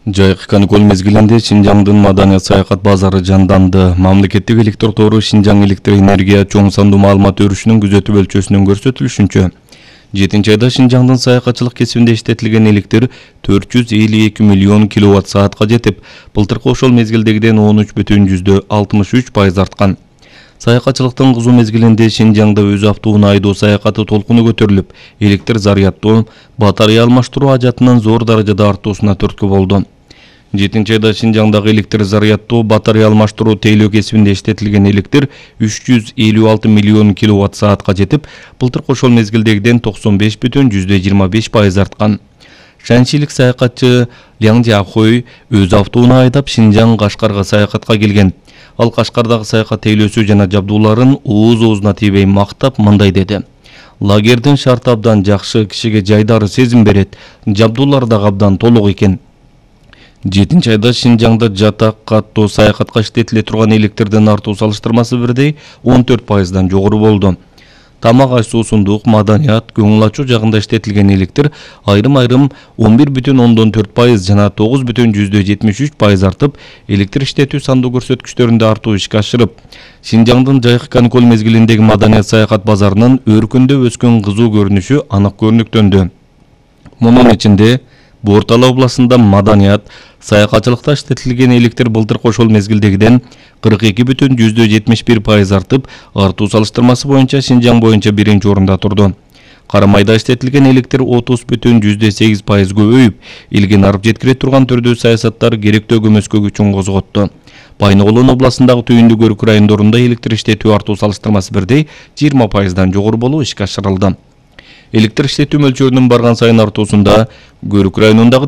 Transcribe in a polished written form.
Жайкы каникул мезгилинде Шинжаңдын маданият саякат базары жанданды. Мамлекеттик электр тору Шинжаң электр энергия чоң сандуу маалымат өрүшүнүн күзөтүү өлчөсүнүн көрсөтүлүшүнчө 7-айда Шинжаңдын саякатчылык кесибинде иштетилген электр 452 миллион киловатт саатка жетип, былтыркы ошол мезгилдегиден 13,63% арткан. Саякатчылыктын кызуу мезгилинде Шинжаңда өз автоунаа айдоо саякаты толкуну көтөрүлүп, электр зарядтоо, батарея алмаштыруу ажатынын зор даражада артуусуна түрткү болду. 7-айда Шинжаңдагы электр зарядтоо, батарея алмаштыруу тейлөө кесибинде иштетилген электр 356 миллион киловатт саатка жетип, былтыркы ошол мезгилдегиден 95,25% арткан. Шанчилик саякатчы Ляң Жахой өз автоунаа айдап Шинжаң Кашкарга саякатка келген. Ал Кашкардагы саякат тейлөөсү жана жабдууларын ооз-оозуна тийбей мактап мындай деди: "Лагердин шарты абдан жакшы, кишиге жайдары сезим берет. Жабдуулар да абдан толук экен." 7-айда Шинжаңда жатак, каттоо саякатка иштетиле турган электрдин артуу салыштырмасы бирдей 14%дан жогору болду. Тамак аш суусундук, маданият, көңүл ачуу жагында иштетилген электр айрым-айрым 11,4% жана 9,73% артып, электр иштетүү сандуу көрсөткүчтөрүндө артуу ишке ашырып, Шинжаңдын жайкы каникул мезгилиндеги маданият саякат базарынын өркүндөп өскөн кызуу көрүнүшү анык көрүнүктөндү. Мунун ичинде Бортала областында маданият, саякатчылыкта иштетилген электр былтыркы ошол мезгилдегиден 42,71% артып, артуу салыштырмасы боюнча Шинжаң боюнча биринчи орунда турду. Карамайда иштетилген электр 30,8% көбөйүп, элге нарып жеткире турган түрдүү саясаттар керектөө көмөскө күчүн козготту. Байногулун областындагы түйүндү көрүк райондорунда электр иштетүү артуу салыштырмасы бирдей 20%дан жогору болуп ишке ашырылды. Электр иштетүү мөлчөрүнүн барган сайын артуусунда Көрүк районундагы